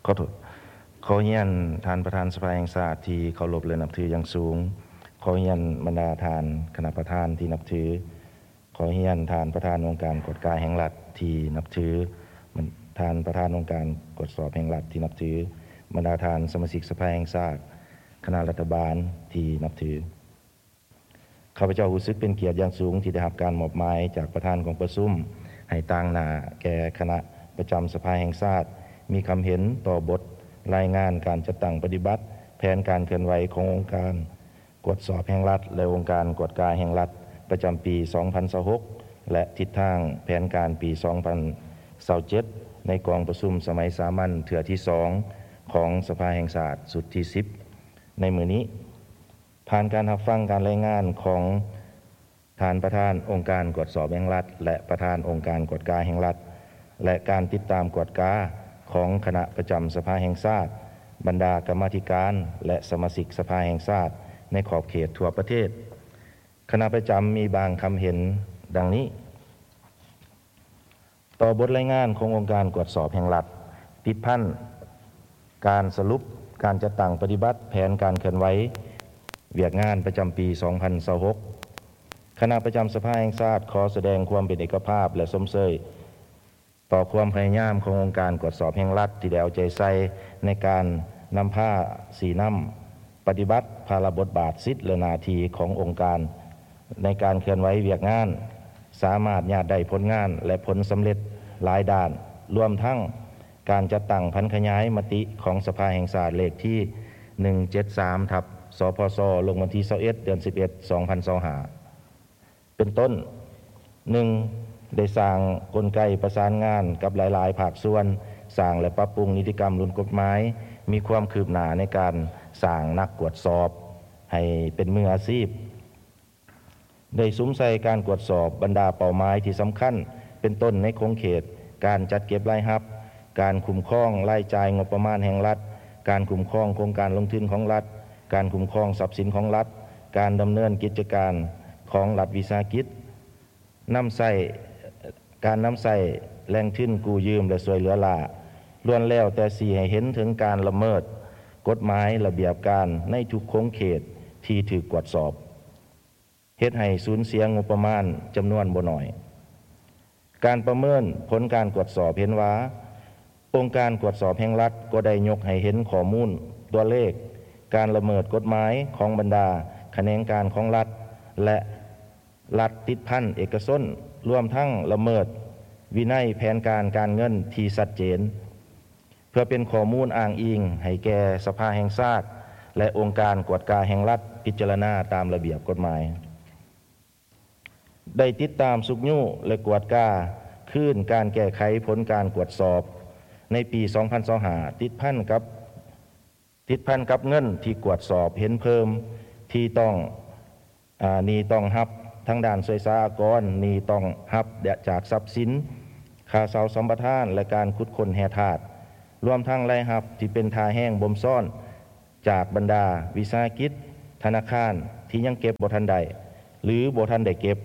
ຂໍໂທດ ຂໍຮຽນທ່ານປະທານສະພາແຫ່ງຊາດທີ່ເຄົາລົບ ແລະ ນັບຖືຢ່າງສູງ, ຂໍຮຽນບັນດາທ່ານຄະນະປະທານທີ່ນັບຖື, ຂໍຮຽນທ່ານປະທານອົງການກວດກາແຫ່ງລັດທີ່ນັບຖື, ທ່ານປະທານອົງການກວດສອບແຫ່ງລັດທີ່ນັບຖື, ບັນດາທ່ານສະມາຊິກສະພາແຫ່ງຊາດ, ຄະນະລັດຖະບານທີ່ນັບຖື. ຂ້າພະເຈົ້າຮູ້ສຶກເປັນກຽດຢ່າງສູງທີ່ໄດ້ຮັບການມອບໝາຍຈາກປະທານກອງປະຊຸມ ໃຫ້ຕາງໜ້າແກ່ຄະນະປະຈຳສະພາແຫ່ງຊາດ ມີຄຳເຫັນຕໍ່ບົດລາຍງານການຈັດຕັ້ງປະຕິບັດແຜນການເຄື່ອນໄຫວຂອງອົງການກວດສອບແຫ່ງລັດ ແລະ ອົງການກວດກາແຫ່ງລັດ ປະຈຳປີສອງພັນຊາວຫົກ ແລະ ທິດທາງແຜນການປີສອງພັນຊາວເຈັດ ໃນກອງປະຊຸມສະໄໝສາມັນເທື່ອທີສອງ ຂອງສະພາແຫ່ງຊາດຊຸດທີສິບ ໃນມື້ນີ້. ຜ່ານການຮັບຟັງການລາຍງານຂອງທ່ານປະທານອົງການກວດສອບແຫ່ງລັດ ແລະ ປະທານອົງການກວດກາແຫ່ງລັດ ແລະ ການຕິດຕາມກວດກາຂອງຄະນະປະຈຳສະພາແຫ່ງຊາດ, ບັນດາກຳມາທິການ ແລະ ສະມາຊິກສະພາແຫ່ງຊາດໃນຂອບເຂດທົ່ວປະເທດ, ຄະນະປະຈຳມີບາງຄຳເຫັນດັ່ງນີ້. ຕໍ່ບົດລາຍງານຂອງອົງການກວດສອບແຫ່ງລັດ ຕິດພັນການສະຫຼຸບການຈັດຕັ້ງປະຕິບັດແຜນການເຄື່ອນໄຫວວຽກງານປະຈຳປີສອງພັນຊາວຫົກ, ຄະນະປະຈຳສະພາແຫ່ງຊາດຂໍສະແດງຄວາມເປັນເອກະພາບ ແລະ ຊົມເຊີຍຕໍ່ຄວາມພະຍາຍາມຂອງອົງການກວດສອບແຫ່ງລັດທີ່ໄດ້ເອົາໃຈໃສ່ໃນການນຳພາຊີ້ນຳ ປະຕິບັດພາລະບົດບາດ, ສິດ ແລະ ໜ້າທີ່ຂອງອົງການໃນການເຄື່ອນໄຫວວຽກງານ, ສາມາດຍາດໄດ້ຜົນງານ ແລະ ຜົນສຳເລັດຫຼາຍດ້ານ, ລວມທັງການຈັດຕັ້ງຜັນຂະຫຍາຍມະຕິຂອງສະພາແຫ່ງຊາດເລກທີໜຶ່ງເຈັດສາມ ທັບ ສພສ ລົງວັນທີຊາວເອັດ ເດືອນສິບເອັດ ສອງພັນຊາວຫ້າ. ເປັນຕົ້ນ, ໜຶ່ງ ໄດ້ສ້າງກົນໄກປະສານງານກັບຫຼາຍໆພາກສ່ວນ, ສ້າງ ແລະ ປັບປຸງນິຕິກຳລຸ້ນກົດໝາຍ, ມີຄວາມຄືບໜ້າໃນການສ້າງນັກກວດສອບໃຫ້ເປັນມືອາຊີບ, ໄດ້ສຸມໃສ່ການກວດສອບບັນດາເປົ້າໝາຍທີ່ສຳຄັນ, ເປັນຕົ້ນໃນຂົງເຂດການຈັດເກັບລາຍຮັບ, ການຄຸ້ມຄອງລາຍຈ່າຍງົບປະມານແຫ່ງລັດ, ການຄຸ້ມຄອງໂຄງການລົງທຶນຂອງລັດ, ການຄຸ້ມຄອງຊັບສິນຂອງລັດ, ການດຳເນີນກິດຈະການຂອງລັດວິສາຫະກິດ, ນຳໃຊ້, ການນຳໃຊ້ແຫຼ່ງທຶນກູ້ຢືມ ແລະ ຊ່ວຍເຫຼືອລ້າ, ລ້ວນແລ້ວແຕ່ຊີ້ໃຫ້ເຫັນເຖິງການລະເມີດກົດໝາຍລະບຽບການໃນທຸກຂົງເຂດທີ່ຖືກກວດສອບ, ເຮັດໃຫ້ສູນເສຍງົບປະມານຈຳນວນບໍ່ໜ້ອຍ. ການປະເມີນຜົນການກວດສອບເຫັນວ່າ, ອົງການກວດສອບແຫ່ງລັດກໍໄດ້ຍົກໃຫ້ເຫັນຂໍ້ມູນຕົວເລກການລະເມີດກົດໝາຍຂອງບັນດາຂະແໜງການຂອງລັດ ແລະ ລັດຕິດພັນເອກະຊົນ, ລວມທັງລະເມີດວິໄນແຜນການການເງິນທີ່ຊັດເຈນ, ເພື່ອເປັນຂໍ້ມູນອ້າງອີງໃຫ້ແກ່ສະພາແຫ່ງຊາດ ແລະ ອົງການກວດກາແຫ່ງລັດພິຈາລະນາຕາມລະບຽບກົດໝາຍ. ໄດ້ຕິດຕາມຊຸກຍູ້ ແລະ ກວດກາຄືນການແກ້ໄຂຜົນການກວດສອບໃນປີສອງພັນຊາວຫ້າ ຕິດພັນກັບ, ຕິດພັນກັບເງິນທີ່ກວດສອບເຫັນເພີ່ມທີ່ຕ້ອງ, ອາ, ໜີ້ຕ້ອງຮັບທາງດ້ານສ່ວຍສາອາກອນ, ໜີ້ຕ້ອງຮັບຈາກຊັບສິນ, ຄ່າເຊົ່າສຳປະທານ ແລະ ການຂຸດຄົ້ນແຮ່ທາດ, ລວມທັງລາຍຮັບທີ່ເປັນທ່າແຮງບົ່ມຊ້ອນ ຈາກບັນດາວິສາຫະກິດ, ທະນາຄານທີ່ຍັງເກັບບໍ່ທັນໄດ້ ຫຼື ບໍ່ທັນໄດ້ເກັບ,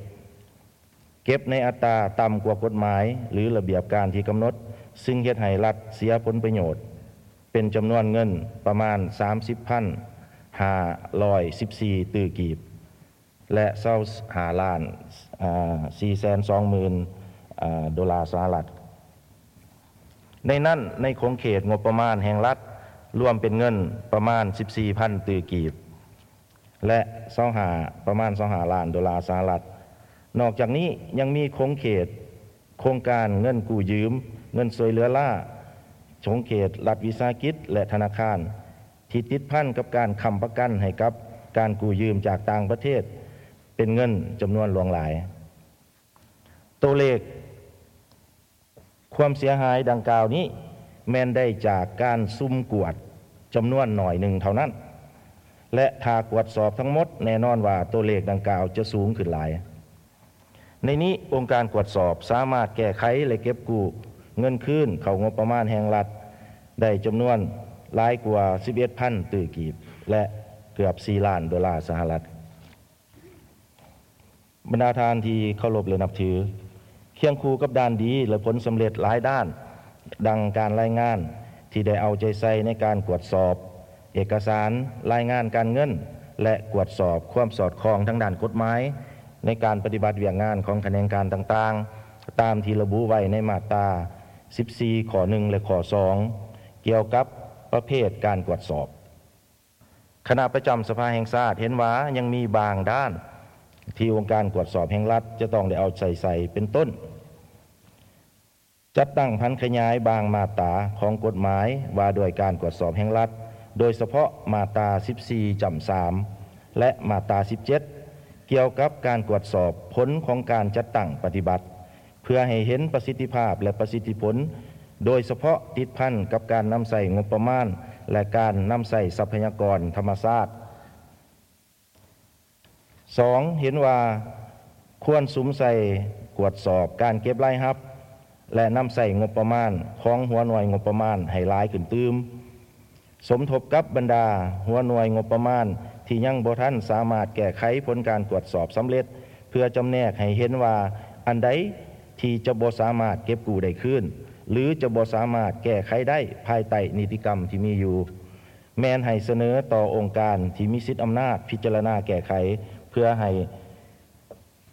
ເກັບໃນອັດຕາຕ່ຳກວ່າກົດໝາຍ ຫຼື ລະບຽບການທີ່ກຳນົດ, ຊຶ່ງເຮັດໃຫ້ລັດເສຍຜົນປະໂຫຍດເປັນຈຳນວນເງິນປະມານສາມສິບພັນຫ້າຮ້ອຍສິບສີ່ຕື້ກີບ ແລະ ຊາວຫ້າລ້ານ ອາ ສີ່ແສນສອງໝື່ນ ອາ ໂດລາສະຫະລັດ. ໃນນັ້ນ, ໃນຂົງເຂດງົບປະມານແຫ່ງລັດ ລວມເປັນເງິນປະມານສິບສີ່ພັນຕື້ກີບ ແລະ ຊາວຫ້າ ປະມານຊາວຫ້າລ້ານໂດລາສະຫະລັດ. ນອກຈາກນີ້ຍັງມີຂົງເຂດໂຄງການເງິນກູ້ຢືມ, ເງິນຊ່ວຍເຫຼືອລ້າ, ຂົງເຂດລັດວິສາຫະກິດ ແລະ ທະນາຄານ ທີ່ຕິດພັນກັບການຄ້ຳປະກັນໃຫ້ກັບການກູ້ຢືມຈາກຕ່າງປະເທດ ເປັນເງິນຈຳນວນຫຼວງຫຼາຍ. ໂຕເລກຄວາມເສຍຫາຍດັ່ງກ່າວນີ້ແມ່ນໄດ້ຈາກການສຸ່ມກວດຈຳນວນໜ້ອຍໜຶ່ງເທົ່ານັ້ນ ແລະ ຖ້າກວດສອບທັງໝົດ, ແນ່ນອນວ່າໂຕເລກດັ່ງກ່າວຈະສູງຂຶ້ນຫຼາຍ. ໃນນີ້, ອົງການກວດສອບສາມາດແກ້ໄຂ ແລະ ເກັບກູ້ເງິນຄືນເຂົ້າງົບປະມານແຫ່ງລັດໄດ້ຈຳນວນຫຼາຍກວ່າສິບເອັດພັນຕື້ກີບ ແລະ ເກືອບສີ່ລ້ານໂດລາສະຫະລັດ. ບັນດາທ່ານທີ່ເຄົາລົບ ແລະ ນັບຖື, ຄຽງຄູ່ກັບດ້ານດີ ແລະ ຜົນສຳເລັດຫຼາຍດ້ານ ດັ່ງການລາຍງານ ທີ່ໄດ້ເອົາໃຈໃສ່ໃນການກວດສອບເອກະສານ, ລາຍງານການເງິນ ແລະ ກວດສອບຄວາມສອດຄ່ອງທາງດ້ານກົດໝາຍ ໃນການປະຕິບັດວຽກງານຂອງຂະແໜງການຕ່າງໆ ຕາມທີ່ລະບຸໄວ້ໃນມາດຕາສິບສີ່ ຂໍ້ໜຶ່ງ ແລະ ຂໍ້ສອງ ກ່ຽວກັບປະເພດການກວດສອບ. ຄະນະປະຈຳສະພາແຫ່ງຊາດເຫັນວ່າຍັງມີບາງດ້ານທີ່ອົງການກວດສອບແຫ່ງລັດຈະຕ້ອງໄດ້ເອົາໃຈໃສ່ ເປັນຕົ້ນ ຈັດຕັ້ງຜັນຂະຫຍາຍບາງມາດຕາຂອງກົດໝາຍວ່າດ້ວຍການກວດສອບແຫ່ງລັດ, ໂດຍສະເພາະມາດຕາສິບສີ່ຈ້ຳສາມ ແລະ ມາດຕາສິບເຈັດ ກ່ຽວກັບການກວດສອບຜົນຂອງການຈັດຕັ້ງປະຕິບັດ ເພື່ອໃຫ້ເຫັນປະສິດທິພາບ ແລະ ປະສິດທິຜົນ, ໂດຍສະເພາະຕິດພັນກັບການນຳໃຊ້ງົບປະມານ ແລະ ການນຳໃຊ້ຊັບພະຍາກອນທຳມະຊາດ. ສອງ, ເຫັນວ່າຄວນສຸມໃສ່ກວດສອບການເກັບລາຍຮັບ ແລະ ນຳໃຊ້ງົບປະມານຂອງຫົວໜ່ວຍງົບປະມານໃຫ້ຫຼາຍຂຶ້ນຕື່ມ, ສົມທົບກັບບັນດາຫົວໜ່ວຍງົບປະມານທີ່ຍັງບໍ່ທັນສາມາດແກ້ໄຂຜົນການກວດສອບສຳເລັດ ເພື່ອຈຳແນກໃຫ້ເຫັນວ່າອັນໃດທີ່ຈະບໍ່ສາມາດເກັບກູ້ໄດ້ຄືນ ຫຼື ຈະບໍ່ສາມາດແກ້ໄຂໄດ້ພາຍໃຕ້ນິຕິກຳທີ່ມີຢູ່. ແມ່ນໃຫ້ສະເໜີຕໍ່ອົງການທີ່ມີສິດອຳນາດພິຈາລະນາແກ້ໄຂ ເພື່ອໃຫ້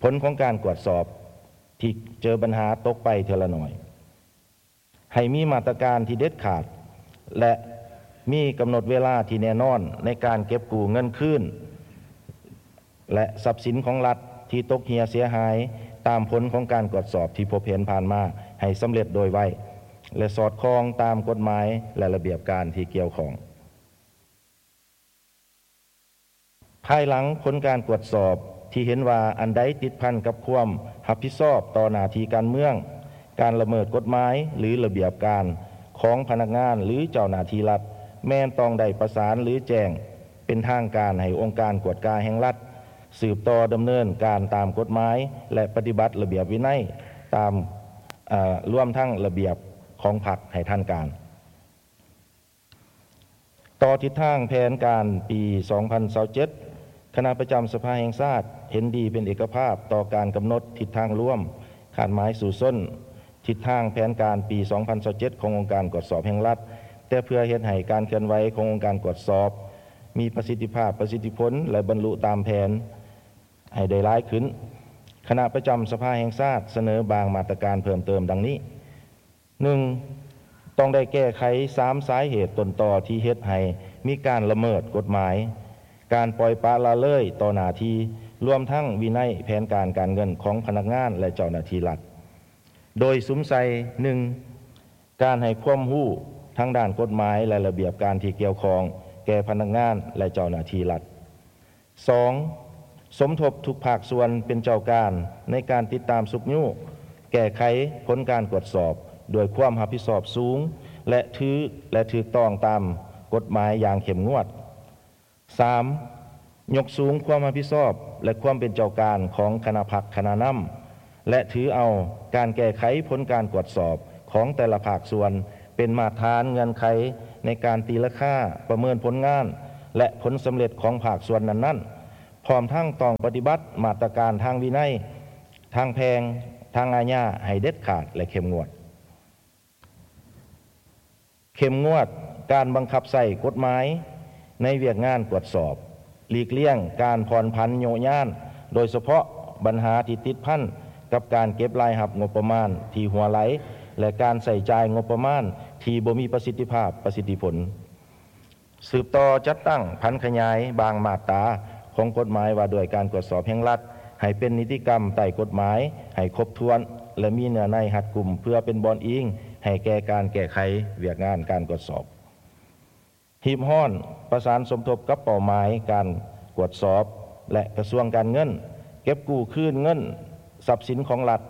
ຜົນຂອງການກວດສອບທີ່ເຈີບັນຫາຕົກໄປເທື່ອລະໜ້ອຍ. ໃຫ້ມີມາດຕະການທີ່ເດັດຂາດ ແລະ ມີກຳນົດເວລາທີ່ແນ່ນອນໃນການເກັບກູ້ເງິນຄືນ ແລະ ຊັບສິນຂອງລັດທີ່ຕົກເຫ່ຍເສຍຫາຍຕາມຜົນຂອງການກວດສອບທີ່ພົບເຫັນຜ່ານມາໃຫ້ສຳເລັດໂດຍໄວ ແລະ ສອດຄ່ອງຕາມກົດໝາຍ ແລະ ລະບຽບການທີ່ກ່ຽວຂ້ອງ. ພາຍຫຼັງຜົນການກວດສອບທີ່ເຫັນວ່າອັນໃດຕິດພັນກັບຄວາມຮັບຜິດຊອບຕໍ່ໜ້າທີ່ການເມືອງ, ການລະເມີດກົດໝາຍ ຫຼື ລະບຽບການຂອງພະນັກງານ ຫຼື ເຈົ້າໜ້າທີ່ລັດ ແມ່ນຕ້ອງໄດ້ປະສານ ຫຼື ແຈ້ງ ເປັນທາງການໃຫ້ອົງການກວດກາແຫ່ງລັດ ສືບຕໍ່ດຳເນີນການຕາມກົດໝາຍ ແລະ ປະຕິບັດລະບຽບວິໄນຕາມ, ເອີ, ລວມທັງລະບຽບຂອງພັກໃຫ້ທັນການ. ຕໍ່ທິດທາງແຜນການປີສອງພັນຊາວເຈັດ ຄະນະປະຈຳສະພາແຫ່ງຊາດເຫັນດີເປັນເອກະພາບຕໍ່ການກຳນົດທິດທາງລວມ, ຄາດໝາຍສູ້ຊົນ, ທິດທາງແຜນການປີສອງພັນຊາວເຈັດຂອງອົງການກວດສອບແຫ່ງລັດ, ແຕ່ເພື່ອເຮັດໃຫ້ການເຄື່ອນໄຫວຂອງອົງການກວດສອບມີປະສິດທິພາບ, ປະສິດທິຜົນ ແລະ ບັນລຸຕາມແຜນໃຫ້ໄດ້ຫຼາຍຂຶ້ນ, ຄະນະປະຈຳສະພາແຫ່ງຊາດສະເໜີບາງມາດຕະການເພີ່ມເຕີມດັ່ງນີ້. ໜຶ່ງ, ຕ້ອງໄດ້ແກ້ໄຂສາມສາເຫດຕົ້ນຕໍທີ່ເຮັດໃຫ້ມີການລະເມີດກົດໝາຍ, ການປ່ອຍປະລະເລີຍຕໍ່ໜ້າທີ່, ລວມທັງວິໄນແຜນການການເງິນຂອງພະນັກງານ ແລະ ເຈົ້າໜ້າທີ່ລັດ, ໂດຍສຸມໃສ່ ໜຶ່ງ, ການໃຫ້ຄວາມຮູ້ທາງດ້ານກົດໝາຍ ແລະ ລະບຽບການທີ່ກ່ຽວຂ້ອງແກ່ພະນັກງານ ແລະ ເຈົ້າໜ້າທີ່ລັດ. ສອງ, ສົມທົບທຸກພາກສ່ວນເປັນເຈົ້າການໃນການຕິດຕາມຊຸກຍູ້, ແກ້ໄຂຜົນການກວດສອບດ້ວຍຄວາມຮັບຜິດຊອບສູງ ແລະ ຖື ແລະ ຖືກຕ້ອງຕາມກົດໝາຍຢ່າງເຂັ້ມງວດ. ສາມ, ຍົກສູງຄວາມຮັບຜິດຊອບ ແລະ ຄວາມເປັນເຈົ້າການຂອງຄະນະພັກຄະນະນຳ ແລະ ຖືເອົາການແກ້ໄຂຜົນການກວດສອບຂອງແຕ່ລະພາກສ່ວນ ເປັນມາດຖານເງື່ອນໄຂໃນການຕີລາຄາ, ປະເມີນຜົນງານ ແລະ ຜົນສຳເລັດຂອງພາກສ່ວນນັ້ນໆ, ພ້ອມທັງຕ້ອງປະຕິບັດມາດຕະການທາງວິໄນ, ທາງແພ່ງ, ທາງອາຍາໃຫ້ເດັດຂາດ ແລະ ເຂັ້ມງວດ. ເຂັ້ມງວດການບັງຄັບໃຊ້ກົດໝາຍໃນວຽກງານກວດສອບ, ຫຼີກລ້ຽງການຜ່ອນຜັນໂຍະຍານ, ໂດຍສະເພາະບັນຫາທີ່ຕິດພັນກັບການເກັບລາຍຮັບງົບປະມານທີ່ຮົ່ວໄຫຼ ແລະ ການໃຊ້ຈ່າຍງົບປະມານທີ່ບໍ່ມີປະສິດທິພາບ, ປະສິດທິຜົນ. ສືບຕໍ່ຈັດຕັ້ງຜັນຂະຫຍາຍບາງມາດຕາຂອງກົດໝາຍວ່າດ້ວຍການກວດສອບແຫ່ງລັດ ໃຫ້ເປັນນິຕິກຳໃຕ້ກົດໝາຍໃຫ້ຄົບຖ້ວນ ແລະ ມີເນື້ອໃນຮັດກຸມ ເພື່ອເປັນບ່ອນອີງໃຫ້ແກ່ການແກ້ໄຂວຽກງານການກວດສອບ. ຮີບຮ້ອນປະສານສົມທົບກັບເປົ້າໝາຍການກວດສອບ ແລະ ກະຊວງການເງິນ ເກັບກູ້ຄືນເງິນຊັບສິນຂອງລັດ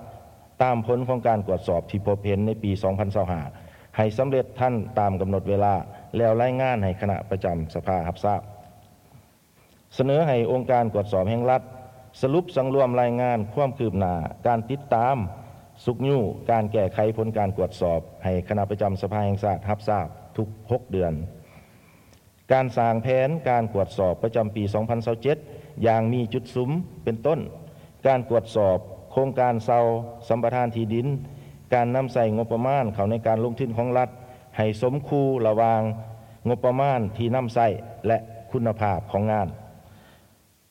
ຕາມຜົນຂອງການກວດສອບທີ່ພົບເຫັນໃນປີສອງພັນຊາວຫ້າ ໃຫ້ສຳເລັດທັນຕາມກຳນົດເວລາ ແລ້ວລາຍງານໃຫ້ຄະນະປະຈຳສະພາຮັບຊາບ. ສະເໜີໃຫ້ອົງການກວດສອບແຫ່ງລັດ ສະຫຼຸບສັງລວມລາຍງານຄວາມຄືບໜ້າການຕິດຕາມ, ຊຸກຍູ້ການແກ້ໄຂຜົນການກວດສອບ ໃຫ້ຄະນະປະຈຳສະພາແຫ່ງຊາດຮັບຊາບທຸກຫົກເດືອນ. ການສ້າງແຜນການກວດສອບປະຈຳປີສອງພັນຊາວເຈັດ ຢ່າງມີຈຸດສຸມ ເປັນຕົ້ນ ການກວດສອບໂຄງການເຊົ່າສຳປະທານທີ່ດິນ, ການນຳໃຊ້ງົບປະມານເຂົ້າໃນການລົງທຶນຂອງລັດ, ໃຫ້ສົມຄູ່ລະຫວ່າງງົບປະມານທີ່ນຳໃຊ້ ແລະ ຄຸນນະພາບຂອງງານ.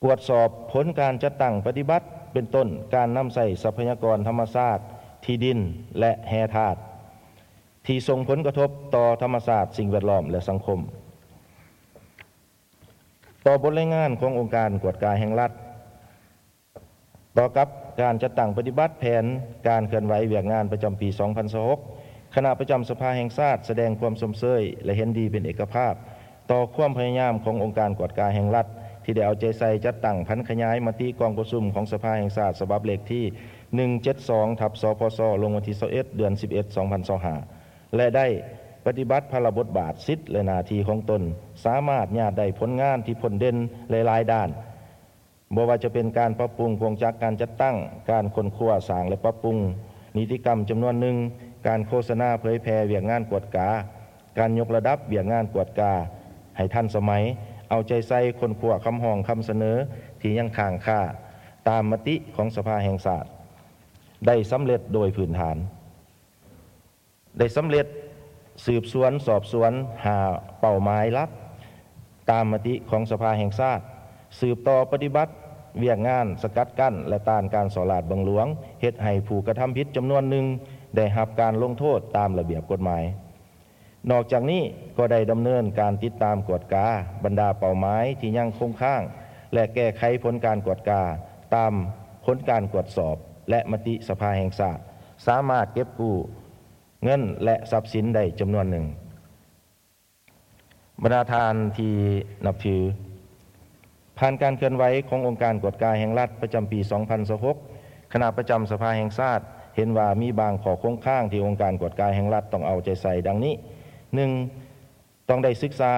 ກວດສອບຜົນການຈັດຕັ້ງປະຕິບັດ, ເປັນຕົ້ນ ການນຳໃຊ້ຊັບພະຍາກອນທຳມະຊາດ, ທີ່ດິນ ແລະ ແຮ່ທາດ ທີ່ສົ່ງຜົນກະທົບຕໍ່ທຳມະຊາດ, ສິ່ງແວດລ້ອມ ແລະ ສັງຄົມ. ຕໍ່ບົດລາຍງານຂອງອົງການກວດກາແຫ່ງລັດ. ຕໍ່ກັບການຈັດຕັ້ງປະຕິບັດແຜນການເຄື່ອນໄຫວວຽກງານປະຈຳປີສອງພັນຊາວຫົກ, ຄະນະປະຈຳສະພາແຫ່ງຊາດສະແດງຄວາມຊົມເຊີຍ ແລະ ເຫັນດີເປັນເອກະພາບຕໍ່ຄວາມພະຍາຍາມຂອງອົງການກວດກາແຫ່ງລັດ ທີ່ໄດ້ເອົາໃຈໃສ່ຈັດຕັ້ງຜັນຂະຫຍາຍມະຕິກອງປະຊຸມຂອງສະພາແຫ່ງຊາດສະບັບເລກທີໜຶ່ງເຈັດສອງ ທັບ ສພຊ ລົງວັນທີຊາວເອັດ ເດືອນສິບເອັດ ສອງພັນຊາວຫ້າ ແລະ ໄດ້ປະຕິບັດພາລະບົດບາດ, ສິດ ແລະ ໜ້າທີ່ຂອງຕົນ, ສາມາດຍາດໄດ້ຜົນງານທີ່ພົ້ນເດັ່ນຫຼາຍໆດ້ານ, ບໍ່ວ່າຈະເປັນການປັບປຸງກົງຈັກການຈັດຕັ້ງ, ການຄົ້ນຄວ້າສ້າງ ແລະ ປັບປຸງນິຕິກຳຈຳນວນໜຶ່ງ, ການໂຄສະນາເຜີຍແຜ່ວຽກງານກວດກາ, ການຍົກລະດັບວຽກງານກວດກາໃຫ້ທັນສະໄໝ, ເອົາໃຈໃສ່ຄົ້ນຄວ້າຄຳຮ້ອງຄຳສະເໜີທີ່ຍັງຄ້າງຄາຕາມມະຕິຂອງສະພາແຫ່ງຊາດ ໄດ້ສຳເລັດໂດຍພື້ນຖານ. ໄດ້ສຳເລັດສືບສວນສອບສວນຫ້າເປົ້າໝາຍຫຼັກຕາມມະຕິຂອງສະພາແຫ່ງຊາດ, ສືບຕໍ່ປະຕິບັດວຽກງານສະກັດກັ້ນ ແລະ ຕ້ານການສໍ້ລາດບັງຫຼວງ, ເຮັດໃຫ້ຜູ້ກະທຳຜິດຈຳນວນໜຶ່ງໄດ້ຮັບການລົງໂທດຕາມລະບຽບກົດໝາຍ. ນອກຈາກນີ້ກໍໄດ້ດຳເນີນການຕິດຕາມກວດກາບັນດາເປົ້າໝາຍທີ່ຍັງຄົງຄ້າງ ແລະ ແກ້ໄຂຜົນການກວດກາຕາມຜົນການກວດສອບ ແລະ ມະຕິສະພາແຫ່ງຊາດ ສາມາດເກັບກູ້ ເງິນ ແລະ ຊັບສິນໄດ້ຈຳນວນໜຶ່ງ. ບັນດາທ່ານທີ່ນັບຖື, ຜ່ານການເຄື່ອນໄຫວຂອງອົງການກວດກາແຫ່ງລັດປະຈຳປີສອງພັນຊາວຫົກ, ຄະນະປະຈຳສະພາແຫ່ງຊາດເຫັນວ່າມີບາງຂໍ້ຄົງຄ້າງທີ່ອົງການກວດກາແຫ່ງລັດຕ້ອງເອົາໃຈໃສ່ດັ່ງນີ້: ໜຶ່ງ, ຕ້ອງໄດ້ສຶກສາ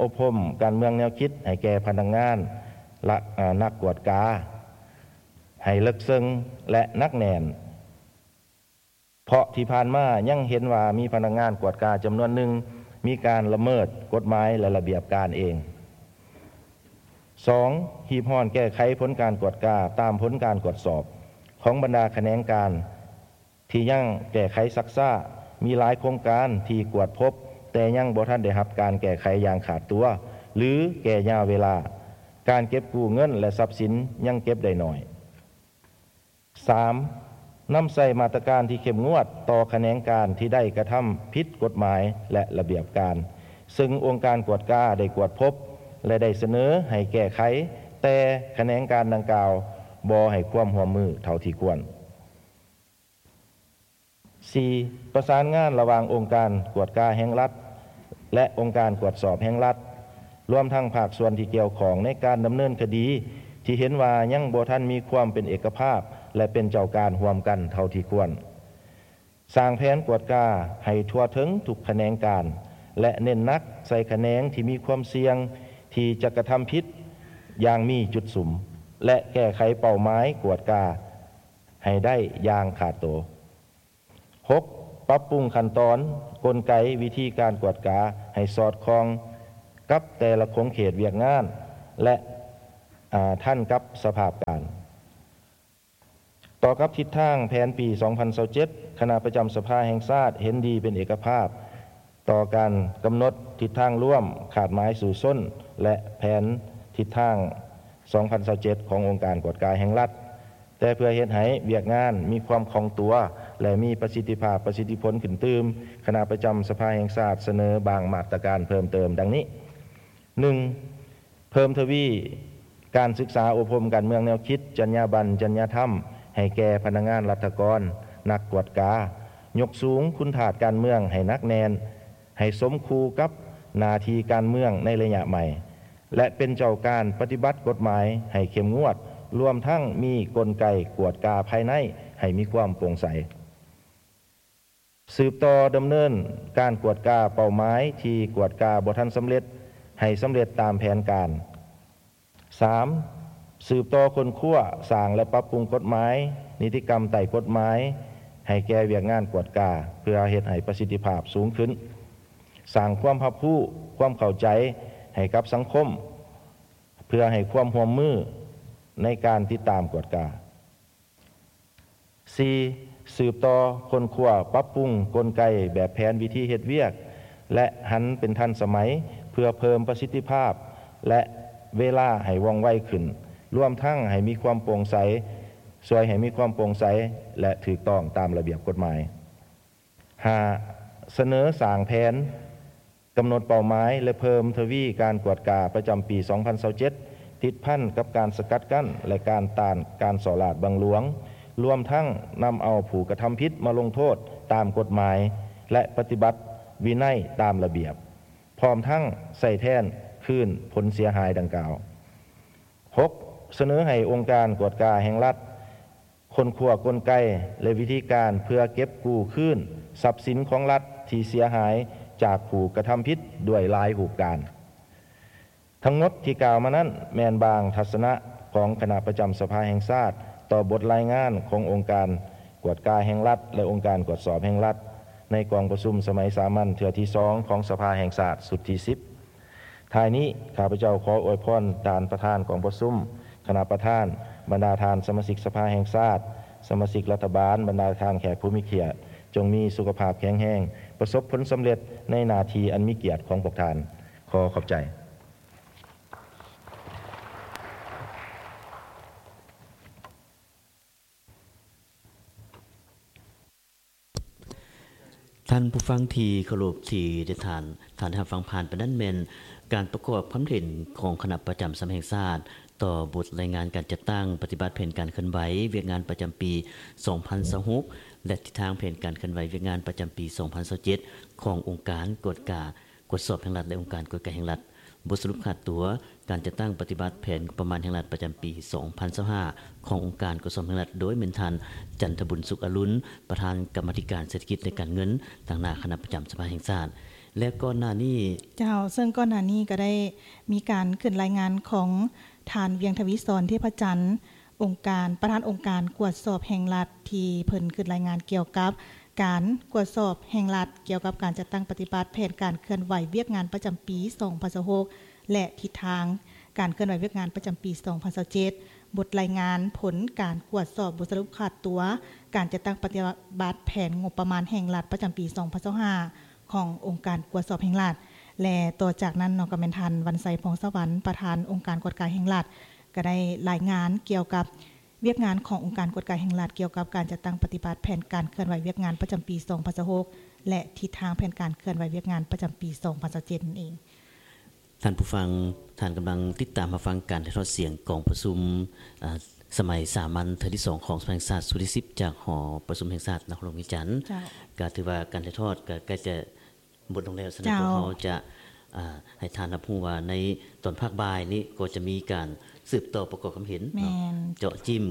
ອົບຮົມການເມືອງແນວຄິດໃຫ້ແກ່ພະນັກງານ ແລະ ອາ ນັກກວດກາ ໃຫ້ເລິກເຊິ່ງ ແລະ ໜັກແໜ້ນ. ເພາະທີ່ຜ່ານມາຍັງເຫັນວ່າມີພະນັກງານກວດກາຈຳນວນໜຶ່ງມີການລະເມີດກົດໝາຍ ແລະ ລະບຽບການເອງ. ສອງ, ຮີບຮ້ອນແກ້ໄຂຜົນການກວດກາຕາມຜົນການກວດສອບຂອງບັນດາຂະແໜງການທີ່ຍັງແກ້ໄຂຊັກຊ້າ. ມີຫຼາຍໂຄງການທີ່ກວດພົບແຕ່ຍັງບໍ່ທັນໄດ້ຮັບການແກ້ໄຂຢ່າງຂາດຕົວ ຫຼື ແກ່ຍາວເວລາ. ການເກັບກູ້ເງິນ ແລະ ຊັບສິນຍັງເກັບໄດ້ໜ້ອຍ. ສາມ, ນຳໃຊ້ມາດຕະການທີ່ເຂັ້ມງວດຕໍ່ຂະແໜງການທີ່ໄດ້ກະທຳຜິດກົດໝາຍ ແລະ ລະບຽບການ ເຊິ່ງອົງການກວດກາໄດ້ກວດພົບ ແລະ ໄດ້ສະເໜີໃຫ້ແກ້ໄຂ, ແຕ່ຂະແໜງການດັ່ງກ່າວບໍ່ໃຫ້ຄວາມຮ່ວມມືເທົ່າທີ່ຄວນ. ສີ່, ປະສານງານລະຫວ່າງອົງການກວດກາແຫ່ງລັດ ແລະ ອົງການກວດສອບແຫ່ງລັດ, ລວມທັງພາກສ່ວນທີ່ກ່ຽວຂ້ອງໃນການດຳເນີນຄະດີທີ່ເຫັນວ່າຍັງບໍ່ທັນມີຄວາມເປັນເອກະພາບ ແລະ ເປັນເຈົ້າການຮ່ວມກັນເທົ່າທີ່ຄວນ. ສ້າງແຜນກວດກາໃຫ້ທົ່ວເຖິງທຸກຂະແໜງການ ແລະ ເນັ້ນໜັກໃສ່ຂະແໜງທີ່ມີຄວາມສ່ຽງທີ່ຈະກະທຳຜິດຢ່າງມີຈຸດສຸມ ແລະ ແກ້ໄຂເປົ້າໝາຍກວດກາໃຫ້ໄດ້ຢ່າງຂາດໂຕ. ຫົກ, ປັບປຸງຂັ້ນຕອນ, ກົນໄກ, ວິທີການກວດກາໃຫ້ສອດຄ່ອງກັບແຕ່ລະຂົງເຂດວຽກງານ ແລະ ອາ ທັນກັບສະພາບການ. ຕໍ່ກັບທິດທາງແຜນປີສອງພັນຊາວເຈັດ, ຄະນະປະຈຳສະພາແຫ່ງຊາດເຫັນດີເປັນເອກະພາບຕໍ່ການກຳນົດທິດທາງລວມ, ຄາດໝາຍສູ້ຊົນ ແລະ ແຜນທິດທາງສອງພັນຊາວເຈັດຂອງອົງການກວດກາແຫ່ງລັດ. ແຕ່ເພື່ອເຮັດໃຫ້ວຽກງານມີຄວາມຄ່ອງຕົວ ແລະ ມີປະສິດທິພາບ, ປະສິດທິຜົນຂຶ້ນຕື່ມ, ຄະນະປະຈຳສະພາແຫ່ງຊາດສະເໜີບາງມາດຕະການເພີ່ມເຕີມດັ່ງນີ້: ໜຶ່ງ, ເພີ່ມທະວີການສຶກສາອົບຮົມການເມືອງແນວຄິດ, ຈັນຍາບັນ, ຈັນຍາທຳ ໃຫ້ແກ່ພະນັກງານລັດຖະກອນ, ນັກກວດກາ, ຍົກສູງຄຸນທາດການເມືອງໃຫ້ໜັກແໜ້ນ, ໃຫ້ສົມຄູ່ກັບໜ້າທີ່ການເມືອງໃນໄລຍະໃໝ່ ແລະ ເປັນເຈົ້າການປະຕິບັດກົດໝາຍໃຫ້ເຂັ້ມງວດ, ລວມທັງມີກົນໄກກວດກາພາຍໃນໃຫ້ມີຄວາມໂປ່ງໃສ. ສືບຕໍ່ດຳເນີນການກວດກາເປົ້າໝາຍທີ່ກວດກາບໍ່ທັນສຳເລັດ ໃຫ້ສຳເລັດຕາມແຜນການ. ສາມ, ສືບຕໍ່ຄົ້ນຄວ້າ, ສ້າງ ແລະ ປັບປຸງກົດໝາຍ, ນິຕິກຳໃຕ້ກົດໝາຍ ໃຫ້ແກ່ວຽກງານກວດກາ ເພື່ອເຮັດໃຫ້ປະສິດທິພາບສູງຂຶ້ນ, ສ້າງຄວາມຮັບຮູ້, ຄວາມເຂົ້າໃຈໃຫ້ກັບສັງຄົມ ເພື່ອໃຫ້ຄວາມຮ່ວມມືໃນການຕິດຕາມກວດກາ. ສີ່, ສືບຕໍ່ຄົ້ນຄວ້າ, ປັບປຸງກົນໄກແບບແຜນວິທີເຮັດວຽກ ແລະ ຫັນເປັນທັນສະໄໝ ເພື່ອເພີ່ມປະສິດທິພາບ ແລະ ເວລາໃຫ້ວ່ອງໄວຂຶ້ນ, ລວມທັງໃຫ້ມີຄວາມໂປ່ງໃສ, ຊ່ວຍໃຫ້ມີຄວາມໂປ່ງໃສ ແລະ ຖືກຕ້ອງຕາມລະບຽບກົດໝາຍ. ຫ້າ, ສະເໜີສ້າງແຜນ ກຳນົດເປົ້າໝາຍ ແລະ ເພີ່ມທະວີການກວດກາປະຈຳປີສອງພັນຊາວເຈັດ ຕິດພັນກັບການສະກັດກັ້ນ ແລະ ການຕ້ານການສໍ້ລາດບັງຫຼວງ, ລວມທັງນຳເອົາຜູ້ກະທຳຜິດມາລົງໂທດຕາມກົດໝາຍ ແລະ ປະຕິບັດວິໄນຕາມລະບຽບ, ພ້ອມທັງໃຊ້ແທນຄືນຜົນເສຍຫາຍດັ່ງກ່າວ. ຫົກ, ສະເໜີໃຫ້ອົງການກວດກາແຫ່ງລັດ ຄົ້ນຄວ້າກົນໄກ ແລະ ວິທີການເພື່ອເກັບກູ້ຄືນຊັບສິນຂອງລັດທີ່ເສຍຫາຍຈາກຜູ້ກະທຳຜິດດ້ວຍຫຼາຍຮູບການ. ທັງໝົດທີ່ກ່າວມານັ້ນ ແມ່ນບາງທັດສະນະຂອງຄະນະປະຈຳສະພາແຫ່ງຊາດຕໍ່ບົດລາຍງານຂອງອົງການກວດກາແຫ່ງລັດ ແລະ ອົງການກວດສອບແຫ່ງລັດ ໃນກອງປະຊຸມສະໄໝສາມັນເທື່ອທີສອງຂອງສະພາແຫ່ງຊາດຊຸດທີສິບ. ທ້າຍນີ້ ຂ້າພະເຈົ້າຂໍອວຍພອນທ່ານປະທານກອງປະຊຸມ, ຄະນະປະທານ, ບັນດາທ່ານສະມາຊິກສະພາແຫ່ງຊາດ, ສະມາຊິກລັດຖະບານ, ບັນດາທ່ານແຂກຜູ້ມີກຽດ, ຈົ່ງມີສຸຂະພາບແຂງແຮງ, ປະສົບຜົນສຳເລັດໃນໜ້າທີ່ອັນມີກຽດຂອງພວກທ່ານ. ຂໍຂອບໃຈ. ທ່ານຜູ້ຟັງທີ່ເຄົາລົບ, ທີ່ໄດ້ທ່ານ, ທ່ານໄດ້ຮັບຟັງຜ່ານໄປນັ້ນແມ່ນການປະກອບຄຳເຫັນຂອງຄະນະປະຈຳສະພາແຫ່ງຊາດ ຕໍ່ບົດລາຍງານການຈັດຕັ້ງປະຕິບັດແຜນການເຄື່ອນໄຫວວຽກງານປະຈຳປີສອງພັນຊາວຫົກ ແລະ ທິດທາງແຜນການເຄື່ອນໄຫວວຽກງານປະຈຳປີສອງພັນຊາວເຈັດ ຂອງອົງການກວດກາ ກວດສອບແຫ່ງລັດ ແລະ ອົງການກວດກາແຫ່ງລັດ. ບົດສະຫຼຸບຂາດຕົວການຈັດຕັ້ງປະຕິບັດແຜນງົບປະມານແຫ່ງລັດປະຈຳປີສອງພັນຊາວຫ້າ ຂອງອົງການກວດສອບແຫ່ງລັດ ໂດຍແມ່ນທ່ານ ຈັນທະບຸນ ສຸກອະລຸນ ປະທານກຳມາທິການເສດຖະກິດ ແລະ ການເງິນ ຕາງໜ້າຄະນະປະຈຳສະພາແຫ່ງຊາດ ແລະ ກ່ອນໜ້ານີ້ ເຈົ້າ, ເຊິ່ງກ່ອນໜ້ານີ້ກໍໄດ້ມີການຂຶ້ນລາຍງານຂອງທ່ານ ວຽງທະວີສອນ ເທບພະຈັນ ອົງການ, ປະທານອົງການກວດສອບແຫ່ງລັດ ທີ່ເພິ່ນຂຶ້ນລາຍງານກ່ຽວກັບການກວດສອບແຫ່ງລັດ ກ່ຽວກັບການຈັດຕັ້ງປະຕິບັດແຜນການເຄື່ອນໄຫວວຽກງານປະຈຳປີສອງພັນຊາວຫົກ ແລະ ທິດທາງການເຄື່ອນໄຫວວຽກງານປະຈຳປີສອງພັນຊາວເຈັດ, ບົດລາຍງານຜົນການກວດສອບບົດສະຫຼຸບຂາດຕົວການຈັດຕັ້ງປະຕິບັດແຜນງົບປະມານແຫ່ງລັດປະຈຳປີສອງພັນຊາວຫ້າ ຂອງອົງການກວດສອບແຫ່ງລັດ ແລະ ຕໍ່ຈາກນັ້ນເນາະ ກໍແມ່ນທ່ານ ວັນໄຊ ພອງສະຫວັນ ປະທານອົງການກວດກາແຫ່ງລັດ ກໍໄດ້ລາຍງານກ່ຽວກັບວຽກງານຂອງອົງການກວດກາແຫ່ງລັດ ກ່ຽວກັບການຈັດຕັ້ງປະຕິບັດແຜນການເຄື່ອນໄຫວວຽກງານປະຈຳປີສອງພັນຊາວຫົກ ແລະ ທິດທາງແຜນການເຄື່ອນໄຫວວຽກງານປະຈຳປີສອງພັນຊາວເຈັດນັ້ນເອງ. ທ່ານຜູ້ຟັງ, ທ່ານກຳລັງຕິດຕາມຮັບຟັງການຖ່າຍທອດສຽງກອງປະຊຸມ, ອາ, ສະໄໝສາມັນເທື່ອທີສອງຂອງສະພາແຫ່ງຊາດຊຸດທີສິບ ຈາກຫໍປະຊຸມແຫ່ງຊາດນະຄອນຫຼວງວຽງຈັນ. ເຈົ້າ. ກໍຖືວ່າການຖ່າຍທອດກໍໃກ້ຈະ ໝົດລົງແລ້ວ, ສະນັ້ນ ເຈົ້າ ພວກເຮົາຈະ, ອາ, ໃຫ້ທ່ານຮັບຮູ້ວ່າໃນຕອນພາກບ່າຍນີ້ກໍຈະມີການສືບຕໍ່ປະກອບຄຳເຫັນເນາະ, ແມ່ນ ເຈາະຈິ້ມ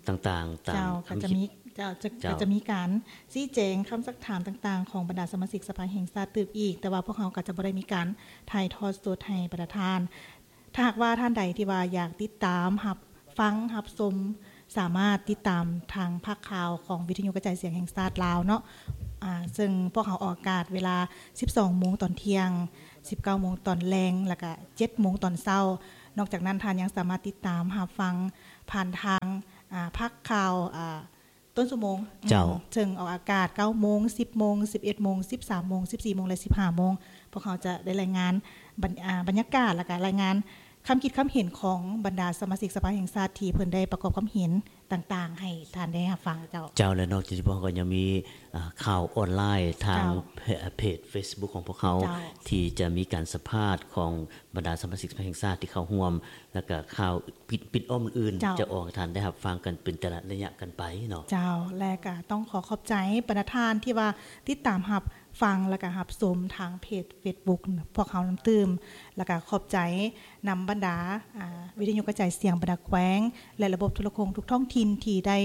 ຕ່າງໆ ຕາມ ເຈົ້າ ຄຳ ກໍຈະມີ ເຈົ້າ ຈະ ເຈົ້າ ກໍຈະມີການຊີ້ແຈງຄຳຊັກຖາມຕ່າງໆ ຂອງບັນດາສະມາຊິກສະພາແຫ່ງຊາດຕື່ມອີກ, ແຕ່ວ່າພວກເຮົາກໍຈະບໍ່ໄດ້ມີການຖ່າຍທອດສົດໃຫ້ບັນດາທ່ານ. ຖ້າຫາກວ່າທ່ານໃດທີ່ວ່າຢາກຕິດຕາມຮັບ ຟັງຮັບຊົມ ສາມາດຕິດຕາມທາງພາກຂ່າວຂອງວິທະຍຸກະຈາຍສຽງແຫ່ງຊາດລາວເນາະ, ອາ, ເຊິ່ງພວກເຮົາອອກອາກາດເວລາສິບສອງໂມງຕອນທ່ຽງ, ສິບເກົ້າໂມງຕອນແລງ ແລ້ວກະເຈັດໂມງຕອນເຊົ້າ. ນອກຈາກນັ້ນທ່ານຍັງສາມາດຕິດຕາມຮັບຟັງຜ່ານທາງ, ອາ, ພາກຂ່າວ, ອາ, ຕົ້ນຊົ່ວໂມງ. ເຈົ້າ. ເຊິ່ງອອກອາກາດເກົ້າໂມງ, ສິບໂມງ, ສິບເອັດໂມງ, ສິບສາມໂມງ, ສິບສີ່ໂມງ ແລະ ສິບຫ້າໂມງ. ພວກເຮົາຈະໄດ້ລາຍງານບັນ, ອາ, ບັນຍາກາດ ແລ້ວກະລາຍງານ ຄຳຄິດຄຳເຫັນຂອງບັນດາສະມາຊິກສະພາແຫ່ງຊາດທີ່ເພິ່ນໄດ້ປະກອບຄຳເຫັນຕ່າງໆ ໃຫ້ທ່ານໄດ້ຮັບຟັງ. ເຈົ້າ. ເຈົ້າ ແລະ ນອກຈາກນີ້ພວກເຮົາກໍຍັງມີ, ອາ, ຂ່າວອອນລາຍທາງ ເຈົ້າ ເພ, ເພຈ Facebook ຂອງພວກເຮົາ ເຈົ້າ ທີ່ຈະມີການສຳພາດຂອງບັນດາສະມາຊິກສະພາແຫ່ງຊາດທີ່ເຂົ້າຮ່ວມ ແລ້ວກໍຂ່າວປິດ, ປິດອ້ອມອື່ນໆ ເຈົ້າ ຈະອອກໃຫ້ທ່ານໄດ້ຮັບຟັງກັນເປັນແຕ່ລະໄລຍະກັນໄປເນາະ. ເຈົ້າ. ແລະ ກໍຕ້ອງຂໍຂອບໃຈບັນດາທ່ານທີ່ວ່າຕິດຕາມຮັບ ຟັງ ແລະກະຮັບຊົມທາງເພຈ Facebook ພວກເຮົານຳຕື່ມ ແລະກະຂອບໃຈນຳບັນດາ ອາ ວິທະຍຸກະຈາຍສຽງບັນດາແຂວງ ແລະລະບົບໂທລະໂຄ່ງທຸກທ້ອງຖິ່ນທີ່ໄດ້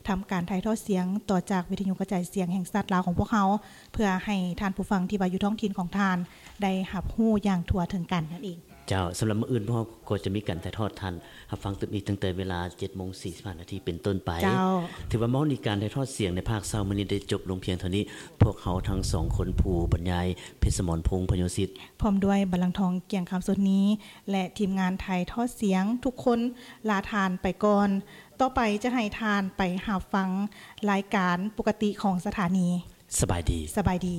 ທຳການຖ່າຍທອດສຽງຕໍ່ຈາກວິທະຍຸກະຈາຍສຽງແຫ່ງຊາດລາວຂອງພວກເຮົາ ເພື່ອໃຫ້ທ່ານຜູ້ຟັງທີ່ວ່າຢູ່ທ້ອງຖິ່ນຂອງທ່ານໄດ້ຮັບຮູ້ຢ່າງທົ່ວເຖິງກັນນັ້ນເອງ. ເຈົ້າ, ສຳລັບມື້ອື່ນພວກເຮົາກໍຈະມີການຖ່າຍທອດທ່ານຮັບຟັງຕື່ມອີກຕັ້ງແຕ່ເວລາເຈັດໂມງສີ່ສິບຫ້ານາທີເປັນຕົ້ນໄປ. ເຈົ້າ. ຖືວ່າມາຮອດນີ້ການຖ່າຍທອດສຽງໃນພາກເຊົ້າມື້ນີ້ໄດ້ຈົບລົງພຽງເທົ່ານີ້. ພວກເຮົາທັງສອງຄົນ, ຜູ້ບັນຍາຍ ເພັດສະໝອນ ພົງ ພະໂຍສິດ ພ້ອມດ້ວຍ ບັນລັງທອງ ກຽງຄຳ ສົດນີ ແລະ ທີມງານຖ່າຍທອດສຽງທຸກຄົນ ລາທ່ານໄປກ່ອນ. ຕໍ່ໄປຈະໃຫ້ທ່ານໄປຮັບຟັງລາຍການປົກກະຕິຂອງສະຖານີ. ສະບາຍດີ. ສະບາຍດີ.